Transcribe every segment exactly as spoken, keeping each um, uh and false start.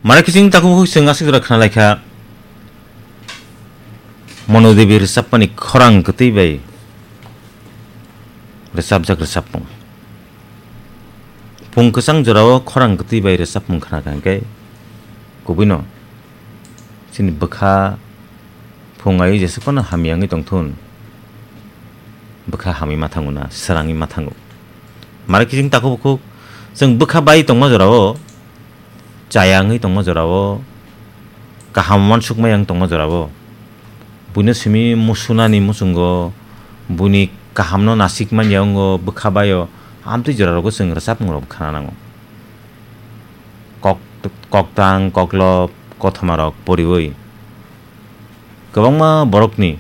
Mara kiching takhuk bukhuk chwng aswk jora khna laikha, Manu Devi rwchapmani khorang kwtwi bai rwchapjak rwchapmung. Pung kwchang jorao khorang kwtwi bai rwchapmung khna kha hwnkhe, kubuino chini bwkha phung ai jesuk phano hamya wngwi tongthun, bwkha hamwi ma thango na, swrangwi ma thango. Mara kiching takhuk bukhuk chwng bwkha bai tongma jorao, chaya wngwi tongma jorao, kaham uansukmaya wng tongma jorao, buino simi musunani muchungo, buini kahamno nasik manya wngo bwkha baio, amtwi jorarogo chwng rwchapmungrok khna nango. Kok-, koktang, koklop, kothomarok poriwi kwbangma borokni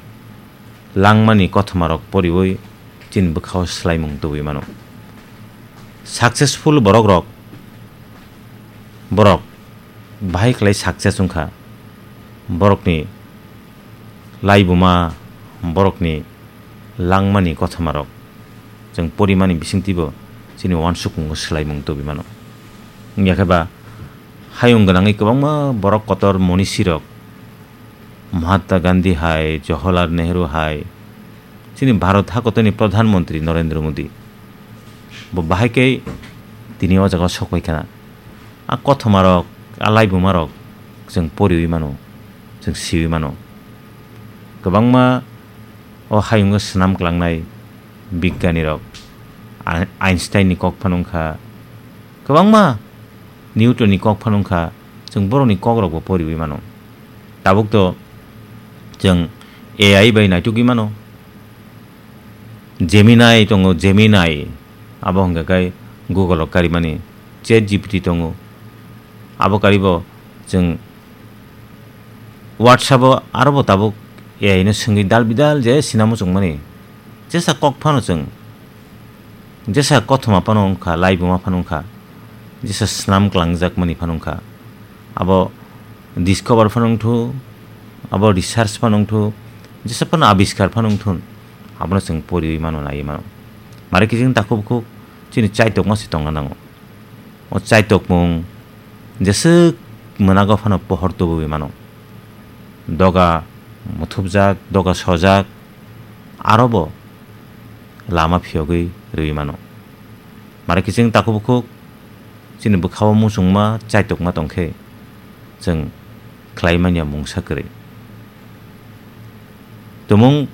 langmani kothomarok poriwi chini bwkhao swlaimung tubui mano. Successful borokrok, borok bahai khlai success wngkha, borokni laibuma, borokni langmani kothomarok chwng porimani bisingtwibo chini uansukmungo swlaimung tubui mano. Wngya khe ba hayung gwnangwi kwbangma borok kotor monisirok, Mahatma Gandhi hai, Jawaharlal Nehru hai, chini Bharat hakotorni Pradhan Mantri Narendra Modi, bo bahai khe tini o jaga o sok pai khana. A kothomarok, a laibumarok chwng poriwi mano, chwng siwi mano. Kwbangma o hayungo swnam klangnai bigyanirok, Ein-, Einsteinni kok phano wngkha, kwbangma Newtonni kok phano wngkha, chwng borokni kokrokbo poriwi mano. Tabuk to chwng A I bai naitugwi mano. Gemini tongo, Gemini, abo hwnkha khe Google-o karimani, Chat G P T tongo, abo karibo chwng WhatsApp-o arobo tabuk A I no swngwi dal bidal je sinamo chwngmani, jesa kok phano chwng, jesa kothoma phano wngkha, laibuma phano wngkha, jesa swnam klangjakmani phano wngkha, abo discover phano wngthu, abo research phano wngthu, jesa phano abiskar phano wngthun, abono chwng poriwi mano, naiwi mano. Mare kiching takhuk bukhuk chini chaitokma se tongna nango. O chaitokmung jeswk mwnago phano pohor tubuwi mano. Doga muthupjak, doga sojak, arobo lama phiyogwi rwwi mano. Mare kiching takhuk bukhuk chini bwkhao muchungma chaitokma tongkhe, chwng khlai manya mungsa kwrwi. Tumung